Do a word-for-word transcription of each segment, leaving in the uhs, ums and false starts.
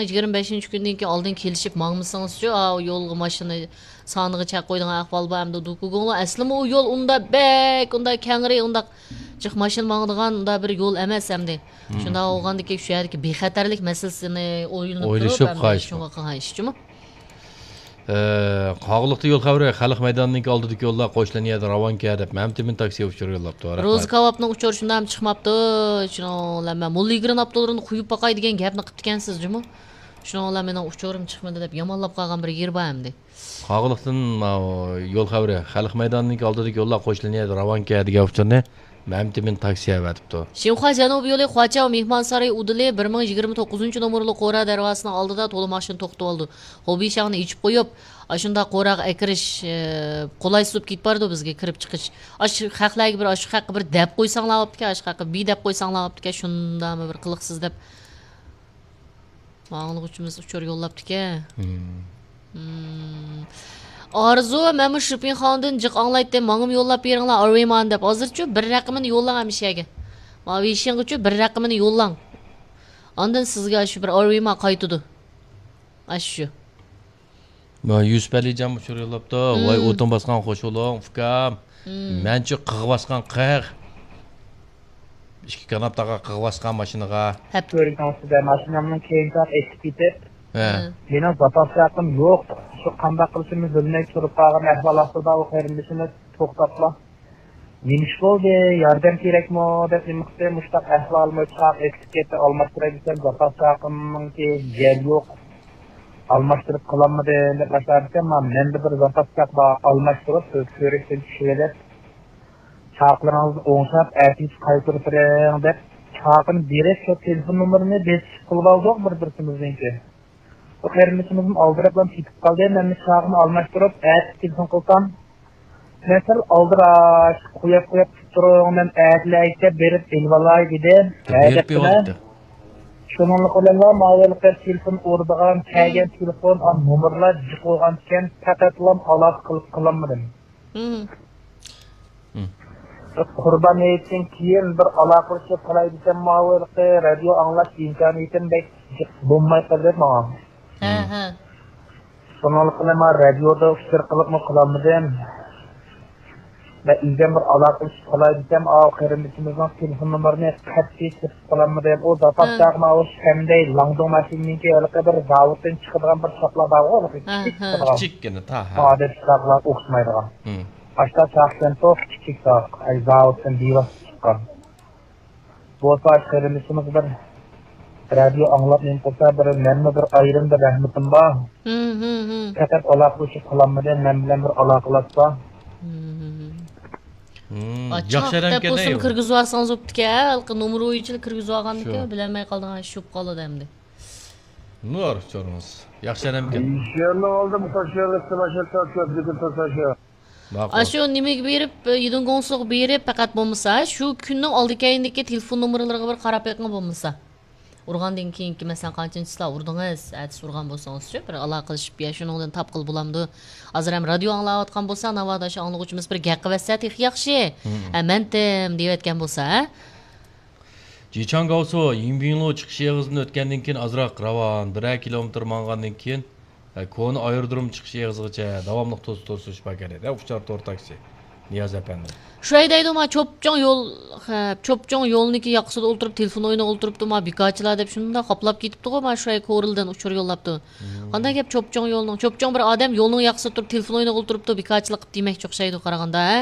يىگىرمە بەشىنچى كۈندىن كېيىن ئالدىن كېلىشىپ ماڭمىسىڭىزچۇ، ئاۋۇ يولغا ماشىنا سانىغا چەك قويىدىغان ئەھۋال بار ئەمدى دۇكۇگۇڭلار. ئەسلىمۇ ئۇ يول ئۇندا بەك، ئۇندا كەڭرى، ئۇنداق جىق ماشىنا ماڭىدىغان ئۇنداق بىر يول ئەمەس ئەمدى. شۇنداق بولغاندىكىن شۇ يەردىكى بىخەتەرلىك مەسىلىسىنى ئويلىنىپ تۇرۇپ ئويلىشىپ ئەمدى قايسى شۇڭا قىلغان ئىش جۇمۇ. ئە، قاغىلىقتا يول خەۋىرى، خەلق مەيدانىنىڭكى ئالدىدىكى يوللار قوشلىنىدىغان راۋانكە دەپ مەمتىمىن تاكسى ئۇچۇرى يوللاپتۇ. رەھمەت. روزا كاۋاپنىڭ ئۇچۇرى شۇنداقمۇ چىقماپتۇ؟ شۇنىڭ بىلەن مەن موللا ئىگىرىنىڭ ئاپتوللىرىنى قويۇپ باقاي دېگەن گەپنى قىپتىكەنسىز جۇمۇ. شۇنىڭ بىلەن مېنىڭ ئۇچۇرۇم چىقمىدى دەپ يامانلاپ قالغان بىر يېرى بار ئەمدى. قاغىلىقتىن ماۋۇ يول خەۋىرى، خەلق مەيدانىنىڭكى ئالدىدىكى يوللار قوشلىنىدىغان راۋانكە دېگەن ئۇچۇرنى مەمتىمىن تاكسى ئەۋەتىپتۇ. شىنخۇا جەنۇب يولى خۇاچاۋ مېھمانسارىيى ئۇدۇلى بىر مىڭ يىگىرمە توققۇزىنچى نومۇرلۇق قورا دەرۋازىسىنىڭ ئالدىدا تولا ماشىنا توختىتىۋالىدۇ. ھوبىشاڭنى ئېچىپ قويۇپ، ئاشۇنداق قوراغا ئەكىرىش، ئە، قولايسىز بولۇپ كېتىپ بارىدۇ بىزگە كىرىپ چىقىش. ئاشۇ خەقلەرگە بىر، ئاشۇ خەققە بىر دەپ قويساڭلار بوپتىكەن، ئاشۇ خەققە بى دەپ قويساڭلار بوپتىكەن، شۇنداقمۇ بىر قىلىقسىز دەپ. ماڭا ئاڭلىغۇچىمىز ئۇچۇر يوللاپتىكەن. مم. ئارزۇ، مەنمۇ شىپىنخانىدىن جىق ئاڭلايتتىم، ماڭىمۇ يوللاپ بېرىڭلار، ئارۋىمان دەپ. ھازىرچۇ بىر رەقىمىنى يوللاڭ ھەمىشەگە. ماۋۇ ۋېيشىنغىچۇ بىر رەقىمىنى يوللاڭ. ئاندىن سىزگە شۇ بىر ئارۋىمان قايتىدۇ. ئاشۇ. مانا يۈسۈپ ئەلىجان ئۇچۇر يوللاپتۇ. ۋاي، ئوتۇن باسقان خوش بولۇڭ، ئۇكام. مەنچۇ قىغ باسقان قىغ. ئىككى كاناپتاغا قىغ باسقان ماشىنىغا. ھەپ. كۆرۈنۈڭ سىزدە ماشىنامنىڭ كېيىن تاق ئېتىپ كېتىپ، ھە. مېنىڭ زاپاس چاقىم يوق. شۇ قانداق قىلىشىمنى بىلمەي تۇرۇپ قالغان ئەھۋال ئاستىدا ئۇ قېرىندىشىمىز توختاپلا، نېمە ئىش بولدى؟ ياردەم كېرەكمۇ؟ دەپ نېمە قىلسا، مۇشۇنداق ئەھۋالىمۇ چاق ئېتىپ كەتتى، ئالماشتۇراي دېسەم، زاپاس چاقىمنىڭكى يەر يوق. ئالماشتۇرۇپ قىلالمىدىم دەپ باشلاپتىكەن، مانا مەندە بىر زاپاس چاق بار، ئالماشتۇرۇپ كۆرۈكتىن چۈشۈرۈۋېلىپ، چاقلىرىڭىزنى ئوڭشاپ، ئەتىگە قايتۇرۇپ بېرىڭ دەپ، چاقىنى بېرىپ، شۇ تېلېفون نومۇرىنى بېسىپ قىلىۋالدۇق بىر بىرسىمىزنىڭكى. بۇ قېرىندىشىمىزمۇ ئالدىراپلا كېتىپ قالدى، مەنمۇ چاقىمنى ئالماشتۇرۇپ، ئەتە تېلېفون قىلسام، مەن سەل ئالدىراش، قويۇپ، قويۇپ تۇرۇپ تۇرۇڭ، مەن ئەتىلەرگىچە بېرىپ ئېلىۋالاي دېدى. ھە، بېرىپ دەپتىمەن. شۇنىڭلىق بىلەنلا ماۋۇ ھېلىقى تېلېفون ئۇرىدىغان، كەلگەن تېلېفون، ئا، نومۇرلار جىق بولغانىكەن، پەقەتلا ئالاقە قىلىپ قىلالمىدىم. قۇربان ھېيتتىن كېيىن بىر ئالاقىلىشىپ قالاي دېسەم، ماۋۇ ھېلىقى رادىيو ئاڭلاش ئىمكانىيىتىم بەك جىق بولماي قالدى ماڭا. ھە، ھە. شۇنىڭلىق بىلەن مانا رادىيودا ئۇچۇر قىلىپمۇ قىلالمىدىم. مەن ئىلگەر بىر ئالاقىلىشىپ قالاي دېسەم، ئاۋۇ قېرىندىشىمىزنىڭ تېلېفون نومۇرىنى قەتئىي تېپىپ قىلالمىدىم. ئۇ زاپاس چاغ ماۋۇ شەندەي لاڭدۇڭ ماشىنىنىڭكى ھېلىقى بىر زاۋۇتتىن چىقىدىغان بىر چاقلار بارغۇ، ھېلىقى كىچىك چىقىدىغان. كىچىككىنە، تا، ھە. ئادەتتىكى چاقلار ئوخشىمايدىغان. ئاشتا چاقكەن توق، كىچىك چاق. ئەي، زاۋۇتتىن بىۋاسىتە چىققان. بولسا قېرىندىشىمىز بىر رادىيو ئاڭلاپ نېمە قىلسا، بىر مەنمۇ بىر ئايرىم بىر رەھمىتىم بار. ھىم، ھىم، ھىم. پەقەت ئالاقىلىشىپ قالالمىدىم، مەن بىلەن بىر ئالاقىلاشسا. ھىم، ھىم، ھىم. ھىم، ئاچچىق ياخشى ئادەمكەن، دەپ بولسىمۇ كىرگۈزۈپ ئالسىڭىز بوپتىكەن، ھېلىقى نومۇر بويىچىلا كىرگۈزۈپ ئالغاندىكىن، بىلەلمەي قالىدىغان ئىش بولۇپ قالىدۇ ئەمدى. نۇر چورمىز. ياخشى ئادەمكەن. شۇ يەرنىڭ ئالدىدا توشۇۋېلىشتا ماشىنا تارتىۋەتكىدى توساشا. ماقۇل. ئاشۇ نېمىگە بېرىپ، يىدىڭگوڭسىغا بېرىپ، پەقەت بولمىسا، شۇ كۈننىڭ ئالدى كەينىدىكى تېلېفون نومۇرلىرىغا بىر قاراپ بېقىڭ بولمىسا. ئۇرغاندىن كېيىنكى، مەسىلەن، قانچىنچى چىسلا ئۇردىڭىز؟ ئەتىسى ئۇرغان بولسىڭىزچۇ، بىر ئالاقىلىشىپ، يا شۇنىڭدىن تاپقىلى بولامدۇ؟ ھازىر ھەم رادىيو ئاڭلاۋاتقان بولسا، ناۋادا شۇ ئاڭلىغۇچىمىز بىر گەپ قىلىۋەتسە تېخى ياخشى. ھە، مەنتىم دېيىۋەتكەن بولسا، ھە؟ جىچاڭ گاۋسۇ، يىڭبىڭلۇ چىقىش ئېغىزىدىن ئۆتكەندىن كېيىن ئازراق راۋان، بىرەر كىلومېتىر ماڭغاندىن كېيىن، ھە، كونا ئايرودروم چىقىش ئېغىزىغىچە داۋاملىق توسۇپ تۇرسا بار كېرەك، ھە، ئۇچار تور تاكسى. نىياز ئەپەندى. شۇ دەيدۇ، ما چوپچوڭ يول، ھە، چوپچوڭ يولنىڭكى ياقىسىدا ئولتۇرۇپ، تېلېفون ئوينىغا ئولتۇرۇپتۇ، ما بىكارچىلار دەپ شۇنداق قاپلاپ كېتىپتىغۇ، ما شۇ كورلىدىن ئۇچۇر يوللاپتۇ. قانداق گەپ چوپچوڭ يولنىڭ؟ چوپچوڭ بىر ئادەم يولنىڭ ياقىسىدا تۇرۇپ، تېلېفون ئوينىغا ئولتۇرۇپتۇ، بىكارچىلىق قىلىپ دېمەكچى ئوخشايدۇ قارىغاندا، ھە؟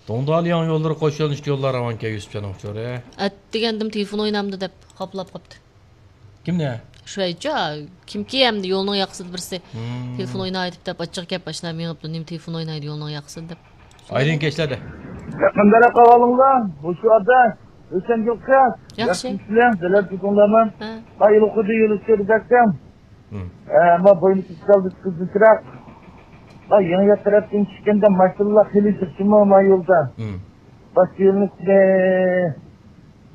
دۇڭدالياڭ يوللىرى قوشۇلۇشتا يوللار راۋانكەن يۈسۈپجاننىڭ ئۇچۇرى. ئەتىگەندىم تېلېفون ئوينامدۇ دەپ قاپلاپ قاپتۇ. كىمنى؟ شۇ ئەيتچۇ، كىمكى ئەمدى يولنىڭ ياقىسىدا بىرسى تېلېفون ئوينايدۇ دەپ ئاچچىق گەپ ئاشۇنداق مېڭىپتۇ، نېمە تېلېفون ئوينايدۇ يولنىڭ ياقىسىدا دەپ. ئايرىڭ كەچلەردە. يېقىندا قاۋالىڭلار، مۇشۇ ئاددا ئۆسەنگۈل قىز. ياخشى. ياخشىمۇ سىلەر، بىلەر تۇردۇڭلارمۇ؟ ھە. ئاي، ئۇلۇقىدا يولۇچ كۆرۈزەكتىم. ھە، ما بوينى كېسىپ قىزىلچىراق. ما يېڭى يات تەرەپتىن چۈشكەندە ماشىنىلار خېلى جىقچىمۇ ما يولدا. باشقا يولنى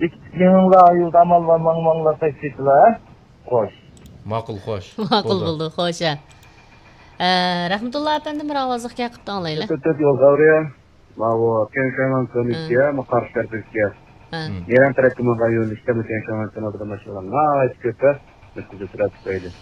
بېكىتىپ مېڭىڭلار، يولدا ئامال بار ماڭ، ماڭلار تاكسىچىلار، ھە؟ خوش. ماقۇل، خوش. ماقۇل بولدى، خوش، ھە. ئە، رەھمەتۇللا ئەپەندىم بىر ئاۋازلىق گەپ قىپتۇ، ئاڭلايلى. تۆت، تۆت يول خەۋىرى. ماۋۇ تيەنشان كۆۋرۈككە، ماۋۇ قارشى تەرەپكە. ھە. يېرىم تەرەپكە ماڭغان يول ئىشتە تيەنشان كۆۋرۈكىدە ماشىنىلار ناھايىتى كۆپ، ھە. نەتىجە سۈرئەت تۈپەيلى.